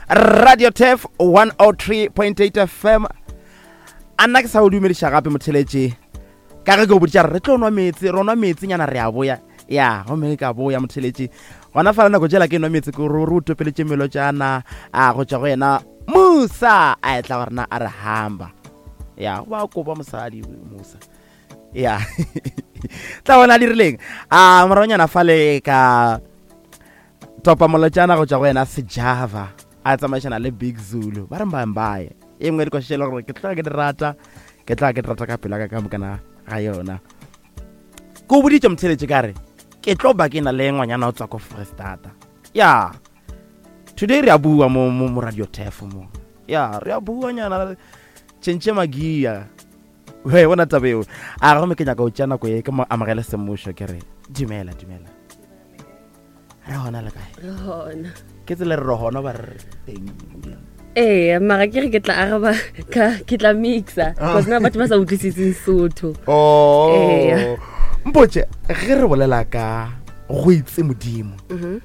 Radio Tef 103.8 FM. A nna ke sa o dumediša gape motheletše. Ka ge ke o boditša re tlo nwa meetse, re nwa meetse nyana re a boya. Ya, gomme ka boya motheletše. Gona fa nako tšela ke nwa meetse ke re o topeletše melotšana a go tšwa go yena Musa a etla go rena a re hamba. Ya, go ba kopa mosadi Musa. Ya. Tla bona dirileng. A moronyana fale ka topa molotšana go tšwa go yena Sejava a tsamaišana le Big Zulu. Ba re mbae e nngwe dikoša e le gore ke tloga ke di rata ke tloga ke di rata ka pelo ka ka mokana ga yona ke o boditše motheletše ka re ke tlo ba ke na le ngwanyana o tswa ko Freestata ya today re a bua mo mo mo radio tef mo ya re a bua nyana tšhentšhe magia we bona taba eo a gomme ke nyaka o tšea nako ye ke mo amogele semmušo ke re dumela dumela re gona le kae re gona ke tsela re re gona ba re teng ee mara ke re ke tla araba ka ke tla mixa ah. because na batho ba sa utlwisitseng sotho oh ee mpotse ge re bolela ka go itse modimo mhm.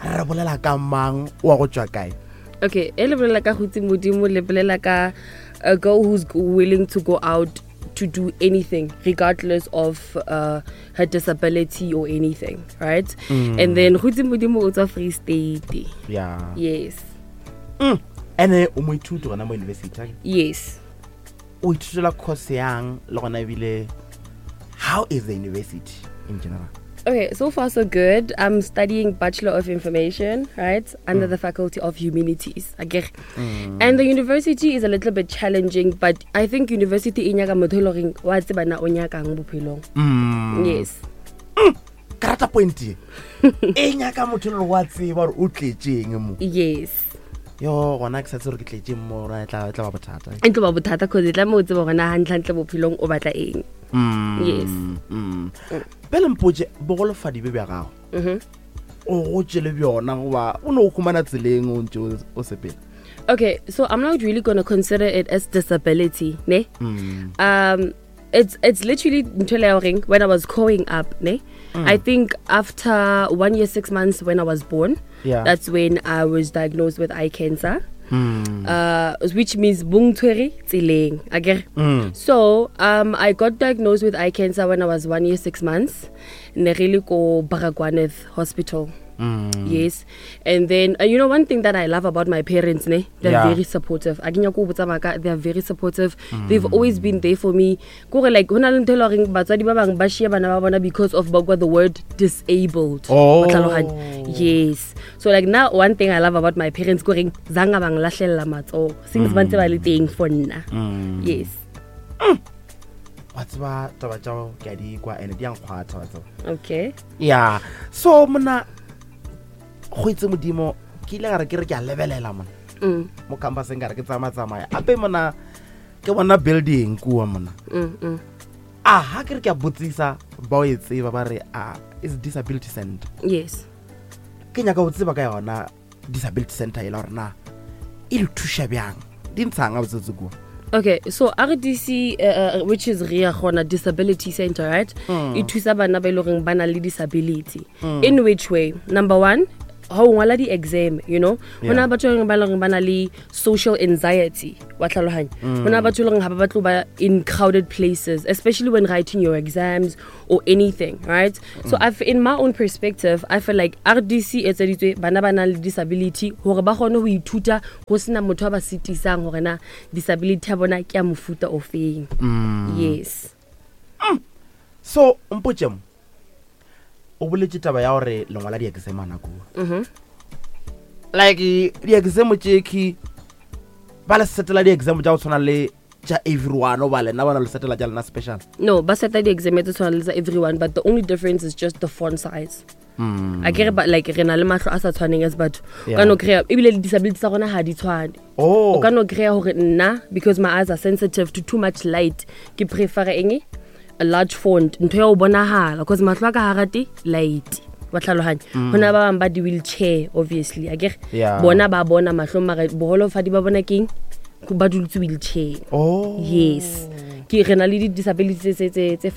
re bolela ka mang wa go tswa kae okay e le bolela ka go itse modimo le bolela ka a girl who's willing to go out to do anything regardless of uh, her disability or anything right mm. and then go itse modimo o tswa free state yeah yes mm. ene o moithuti gona mo university yes o ithutela course yang le gona ebile how is the university in general Okay, so far so good. I'm studying Bachelor of Information, right, under mm. the Faculty of Humanities. Again. Mm. And the university is a little bit challenging, but I think university e nyaka motho e le goreng wa tseba na o nyakang bophelong. Mm. Yes. Mm. Ke rata point e. E nyaka motho e le wa tseba gore o tletšeng mo. Yes. Yo, gona ke sa tsebe gore ke tletšeng mo, e tla ba bothata. E tlo ba bothata cause e tla mo o tseba gore na hantlentle bophelong o batla eng. Mm. Yes. Mm. Pele mpotše bogolofadi be bja gago mm-hmm. o gotše le bjona goba o ne o humana tseleng o ntše o sepela okay so i'm not really going to consider it as disability ne mm. um it's it's literally ntho ya goreng when i was growing up ne mm. i think after one year six months when i was born yeah. that's when i was diagnosed with eye cancer Mm. Uh, which means bong tshwere tseleng akere mm. so um, i got diagnosed with eye cancer when i was one year six months ne re le ko baragwaneth hospital Mm. Yes. And then, uh, you know, one thing that I love about my parents, ne, they're yeah. very supportive. A ke nyako go botsa maaka, they're very supportive. Mm. They've always been there for me. Kore like, ho na le ntho e le horeng batswadi ba bang ba shia bana ba bona because of ba kwa the word disabled. Oh. Wa tlhaloganya? Yes. So like now one thing I love about my parents ko reng zanga bang lahlella matsoho. Since ba ntse ba le teng for nna. Mm. Yes. Mm. Wa tseba taba tša ke a di kwa ene di a nkgwatha wa tseba. Okay. Yeah. So mona go itse modimo ke ile gare ke re ke a lebelela mona. Mm. Mo campuseng ka re ke tsamaya tsamaya. Ape mona ke bona building kua mona. Mm, mm. A ha ke re ke a botsisa ba o e tseba ba re a is disability center. Yes. Ke nyaka go tseba ka yona disability center e la gore na e le thuša bjang di ntshang a botsetse kua Okay, so RDC, uh, uh, which is Ria Gona Disability Center, right? Mm. E thusa bana ba e leng ba na le disability. Mm. In which way? Number one, ha o ngwala di-exam you know go na batho ba leng ba na le social anxiety wa tlhaloganya go na batho e leng ga ba batlo ba in crowded places especially when writing your exams or anything right mm. so I've, in my own perspective i feel like rdc e etseditswe bana ba nang le disability gore ba kgone go ithuta go sena motho a ba sitisang gore na disability ya bona ke ya mofuta o feng mm. yes mm. so mpotse mo o boletse taba ya gore lengwala di-exam ana kua mm -hmm. like di-exam tšekhi ba le setela di-exam tša go tshwana le tša everyone o ba lena bona le setela tša lena special no ba seta di-exam tse tshwana le tsa everyone but the only difference is just the font size mm. a kere like re na le mahlo a sa tshwaneng as batho yeah. ka no kry-a ebile le disability tsa rona ga di tshwane oh. o ka no kry-a gore nna because my eyes are sensitive to too much light ke prefera eng a large font ntho ya o bonagala because mahlo a ka ga rate light wa tlhaloganya mm. go na ba bangwe ba di-wheelchair obviously a kere yeah. bona ba bona mahlong mare bogolofadi ba bona keng ba duletse wheelchair oh. yes ke re na le di-disability tse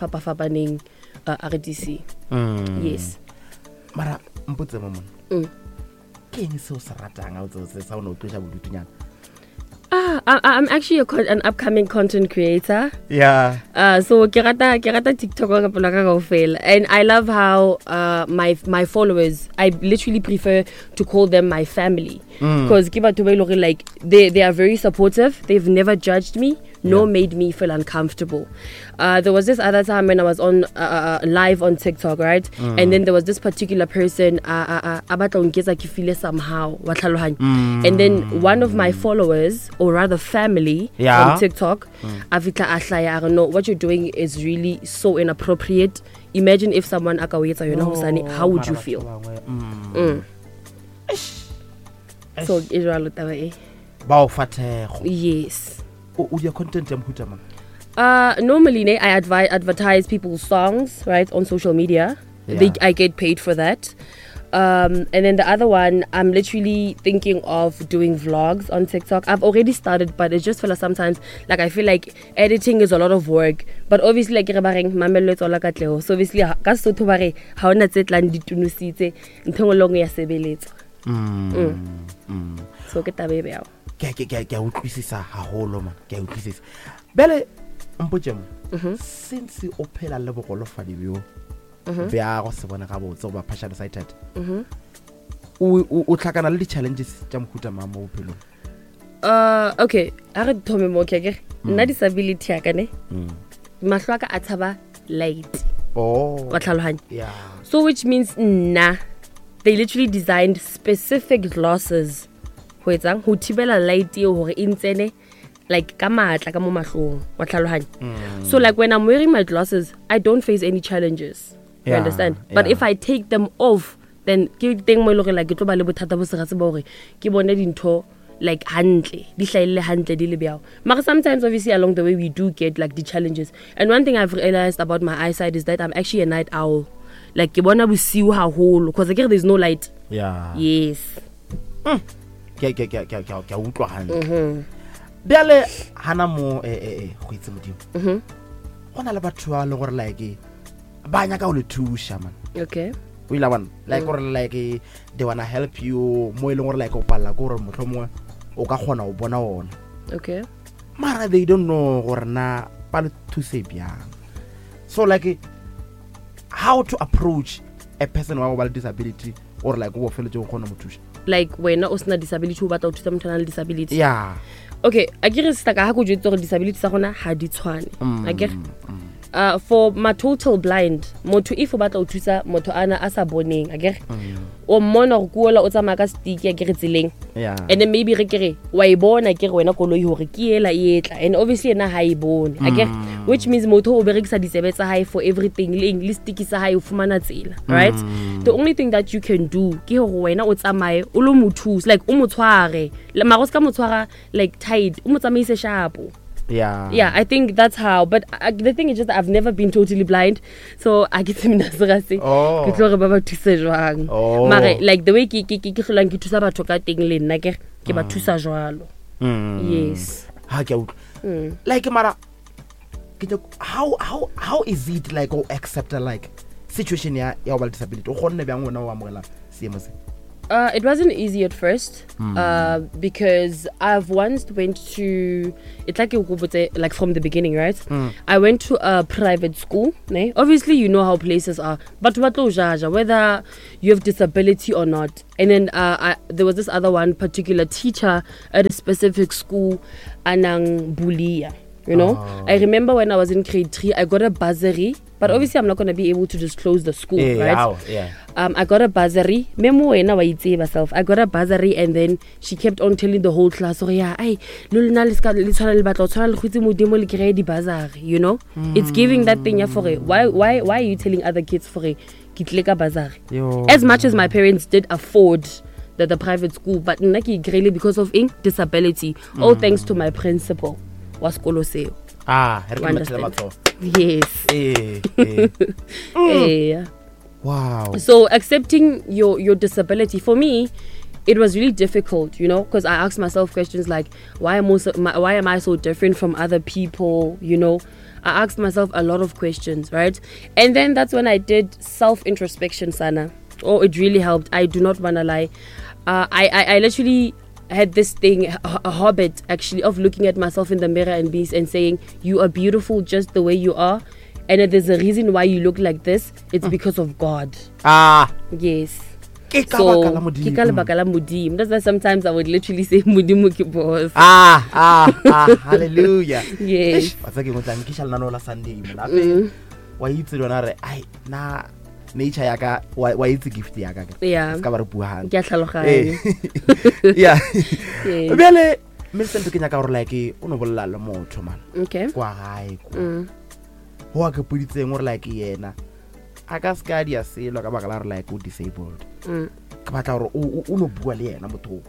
Ke eng se o se ratang a o se sa o ne o tloša bodutunyana? Ah, I'm actually an upcoming content creator. Yeah. So ke rata TikTok ka pelo ka kaofela. And I love how my followers, I literally prefer to call them my family. Because ke batho ba e leng like they are very supportive. They've never judged me, nor made me feel uncomfortable. There was this other time when I was on live on TikTok, right? And then there was this particular person, a batla ho nketsa ke feel somehow, wa tlhalohanya. And then one of my followers, or rather family, on TikTok, a fihla a hlaya, a re, no, what you're doing is really so inappropriate. Imagine if someone a ka o etsa yona hosane, how would you feel? So e jwalo taba e. Ba o fa thekgo. Yes. O dia content ya mohuta mang? Normally, ne, I advertise people's songs, right, on social media. I get paid for that. And then the other one, I'm literally thinking of doing vlogs on TikTok. I've already started, but it's just feel like sometimes, like, I feel like editing is a lot of work. But obviously, like, re ba reng, mamello e tswala katleho. So obviously, ka Sesotho ba re, ha hona tse tlang di tunositse, ntho e nngwe le nngwe ya sebeletswa. So ke taba e bjalo. Ke a utlwisisa haholo, man. Ke a utlwisisa. Bjale, mpotše mo, since o phela le bogolofadi bjo, bja go se bone gabotse goba partially sighted, o tlhakana le di-challenges tša mohuta mang mo bophelong? Okay, a re thome mo, ke akere nna disability ya ka ne, mahlo a ka a tshaba light. Wa tlhalohanya? So which means nna, they literally designed specific glasses ho etsang ho thibela light eo hore e ntsene like ka matla ka mo mahlong, wa tlhalohanya? So like when I'm wearing my glasses, I don't face any challenges. You understand? But if I take them off, then ke teng mo e leng hore like ke tlo ba le bothata bo segatse ba hore ke bone dintho like hantle, di hlahelle hantle di le bjao. Mara sometimes obviously along the way we do get like the challenges. And one thing I've realized about my eyesight is that I'm actually a night owl. Like ke bona bosiu haholo because akere there's no light. Yes. Ke a utlwa hantle. Bjale hana mo go itse Modimo. Go na le batho ba le gore like ba nyaka go le thuša, man. O ile bona like gore like they wanna help you mo e leng gore like o palela ke gore mohlomongwe o ka kgona go bona ona. Mara they don't know gore na ba le thuse bjang. So like how to approach a person wa go ba le disability or like o feletse o kgona mo thuša? Like wena o sena disability o batla go thusa motho a nang le disability? Yeah. Okay, a ke re sister ka ha ko jwetse gore disability tsa rona ha di tshwane. Akere? For my total blind, motho if o batla ho thusa motho ana a sa boneng, akere? O mmona hore ke ola o tsamaya ka stick akere tseleng. And then maybe re ke re, wa e bona ke re wena koloi hore ke ela e etla. And obviously yena ha e bone, akere? Which means motho o berekisa ditsebe tsa hae for everything, le eng, le stick sa hae o fumana tsela, right? The only thing that you can do ke hore wena o tsamaye o lo mo thusa, like o mo tshware. Le mara o ska mo tshwara like tight, o mo tsamaise sharp. Yeah, I think that's how. But the thing is just that I've never been totally blind, so I get mina se ke tlo re ba ba thuse jwang. Mare like the way ke ke ke ke hlolang ke thusa batho ka teng le nna ke ke ba thusa jwalo. Yes. Ha ke a utlwa. Like mara ke how is it like o accept like situation ya go ba le disability? O kgonne bjang wena o amogela seemo se? It wasn't easy at first, because I've once went to, it's like, like from the beginning, right? I went to a private school. Ne? Obviously, you know how places are. But whether you have disability or not. And then there was this other one particular teacher at a specific school, Anang Bulia. You know? I remember when I was in grade 3, I got a bursary. But obviously, I'm not going to be able to disclose the school, right? I got a bursary. Memo wena wa itseba self. I got a bursary, and then she kept on telling the whole class, oh yeah, ay, lo lena le ska, le tshwana le batla, o tshwana le go itse Modimo le kry-e di-bursary, you know? It's giving that thing ya for why are you telling other kids for ke tlile ka bursary? Yo. As much as my parents did afford the private school, but nna ke e kry-ile because of eng? Disability. All thanks to my principal wa sekolo seo. Re ke You mmathele understand? matsoho. Yes. Wow. So accepting your disability, for me, it was really difficult, because I asked myself questions like, why am I so different from other people, you know? I asked myself a lot of questions, right? And then that's when I did self-introspection, Sana. Oh, it really helped. I do not want to lie. I, I, I literally had this thing, a, a habit actually, of looking at myself in the mirror and be and saying, "You are beautiful just the way you are." And if there's a reason why you look like this, it's because of God. Ah. Yes. Ke ka So, baka la ke ka Modimo. lebaka la Modimo. That's why sometimes I would literally say Modimo ke boss. Ah, ah, ah, hallelujah. Yes. Eish, wa tseba ke eng, o tla nkiša lenaneo la Sunday mona. Gape wa itse le yona re ai na nature ya ka wa wa itse gift ya ka ke. Yeah. Se ka ba re bua hantle. Ke a tlhaloganya. Eh. Yeah. Yes. Bjale Millicent ke nyaka gore like o no bolela le motho man. Okay. Kwa gae kwa. Ho a ke poditseng gore like yena a ka se ka dia selo ka baka la gore like o disabled. Ke batla gore o no bua le yena motho o.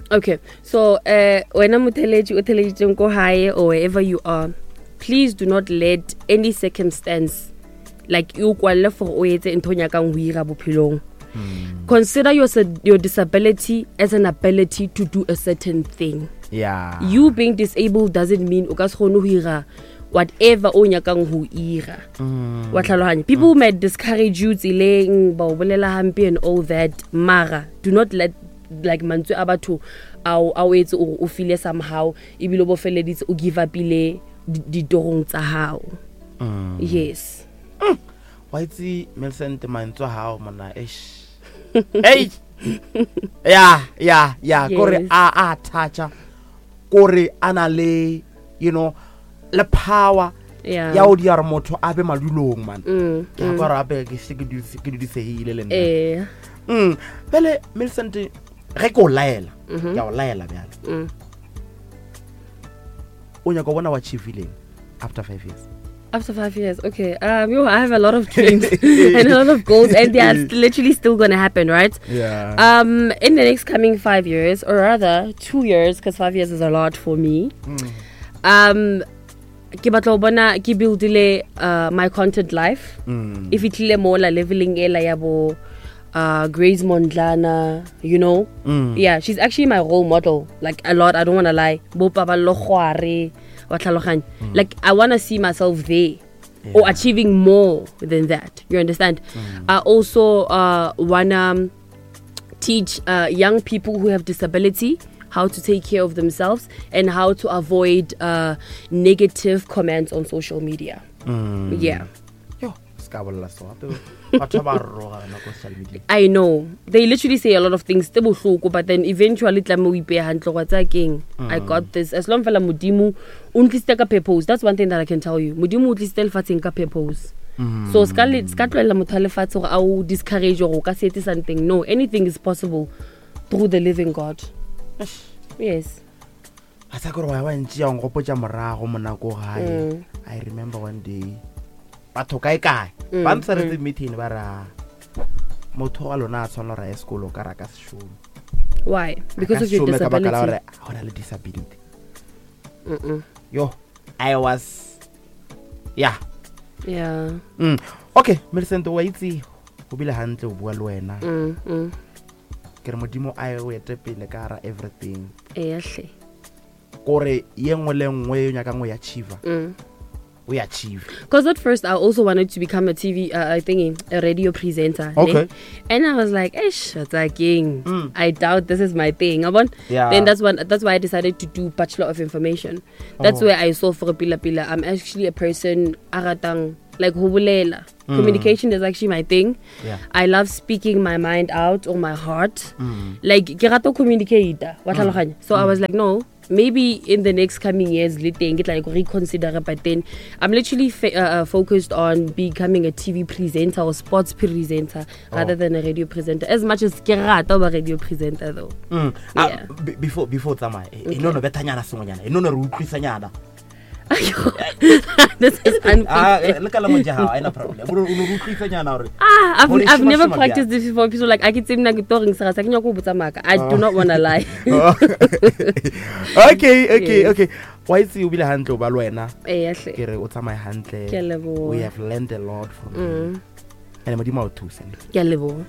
Okay, so wena motheletši o theleditseng ko hae or wherever you are, please do not let any circumstance like e o kwalle for o etse ntho o nyakang ho ira bophelong. Consider your disability as an ability to do a certain thing. Yeah. You being disabled doesn't mean o ka se kgone ho ira whatever o nyakang ho ira. Wa tlhalohanya. People might discourage you tseleng, ba o bolela hampe and all that. Mara, do not let like mantswe a batho ao a o etse o o feel somehow ebile o bo feleditse o give up-ile ditorong tsa hao. Yes. Wa itse Millicent mantswe a hao monna eish. Ei. Ya, ya, ya, kore Yes. a a toucha. Kore a na le you know le power Yeah. ya o dia gore motho a be madulong man. Ke a kwa gore gape ke se ke ke dudisegile le nna. Eh. Bjale Millicent ge ke o laela, ke a o laela bjale. O nyaka go bona wa achieve-ileng after 5 years? After 5 years, okay. Yo, I have a lot of dreams and a lot of goals, and they are literally still gonna happen, right? Yeah. In the next coming 5 years, or rather 2 years, because 5 years is a lot for me. Ke batla ho bona ke buildile, my content life. E fihlile mola leveling ela ya bo, Grace Mondlana, you know? Yeah, she's actually my role model, like a lot, I don't want to lie. Bo Paballo Kgware, wa tlhaloganya. Like, I want to see myself there. Or achieving more than that. You understand? I also want to teach young people who have disability how to take care of themselves and how to avoid negative comments on social media. Yeah. Yo, ska bolela so gape. Batho ba roga nako social media. I know. They literally say a lot of things tse bohloko, but then eventually tla mo ipeha hantle gwa tsa keng. I got this. As long fela Modimo o ntlisitse ka purpose. That's one thing that I can tell you. Modimo o tlisitse lefatsheng ka purpose. So ska le, ska tlohella motho a lefatshe hore a o discourage hore o ka se etse something. No, anything is possible through the living God. Yes. A sa kore wa ba ntši ya nkgopotša morago monako gae. I remember one day batho kae kae ba ntshwaretse meeting ba ra motho wa lona a tshwanela gore a ye sekolo ka ra ka se šome. Why? A ka Because of your se šome ka baka la disability. gore ga o na le disability. Yo, I was yeah. Yeah. Okay, Millicent wa itse go bile hantle o bua le wena. Ke re Modimo a o ete pele ka hara everything. Eya hle. Kore ye nngwe le nngwe e o nyakang o e achieve. O e achieve. Because at first I also wanted to become a TV thingy, a radio presenter. Ne? Okay. And I was like, Eish, what's that king? I doubt this is my thing. Abon? Yeah. Then that's why I decided to do Bachelor of Information. That's Oh. where I saw for pila pila. I'm actually a person aratang like ho bolela. Communication is actually my thing. Yeah. I love speaking my mind out or my heart. Like ke rata ho communicate. Wa tlhaloganya? So I was like, no, maybe in the next coming years, le teng ke tla reconsider, but then I'm literally focused on becoming a TV presenter or sports presenter rather than a radio presenter. As much as ke rata ho ba radio presenter though. Yeah. Before tsamaya, e no no bethanyana sengwenyana, e no no re utlwisanyana. This is unfair. Le ka la moja hao, ha ena problem. O no re utlwisanyana hore Hore I've shima never shima practiced bjang. this before. People like, I ke tsebe nna ke tlo reng sera sa, ke nyaka ho botsa maka. I do not want to lie. Oh. Okay, okay, Yes. okay. Wa itse o bile hantle o ba le wena. Eya hle. Ke re o tsamaye hantle. Ke a leboha. We have learned a lot from you. And Modimo a o thuse. Ke a leboha.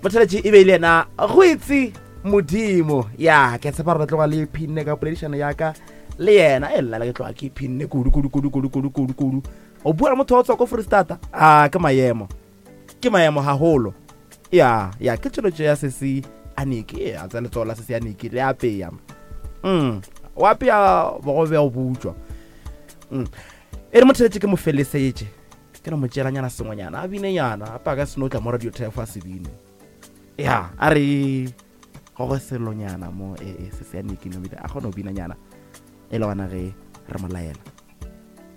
Motheletši e be le yena go itse Modimo. Ya, ke tshepa gore re tloga le iphinne ka poledišano ya ka le yena. E lla ke tloga ke iphinne kudu, kudu, kudu, kudu, kudu, kudu, kudu. O bua le motho wa ho tswa ko Freistata. Ah, ke maemo. Ke maemo haholo. Ya, ya, ke tšweletšo ya Sesi Aniki a tsaya letsogo la sesi Aniki le apeya. O apea bogobe bja go butšwa. E re motheletše ke mo felesetše. Ke no mo tšeelanyana sengwenyana, a binenyana, a paka seno tla mo radio thefo a se bine. Ya, a re gogo selonyana mo e se se Aniki no bile a kgona go binanyana e le gona ge re mo laela.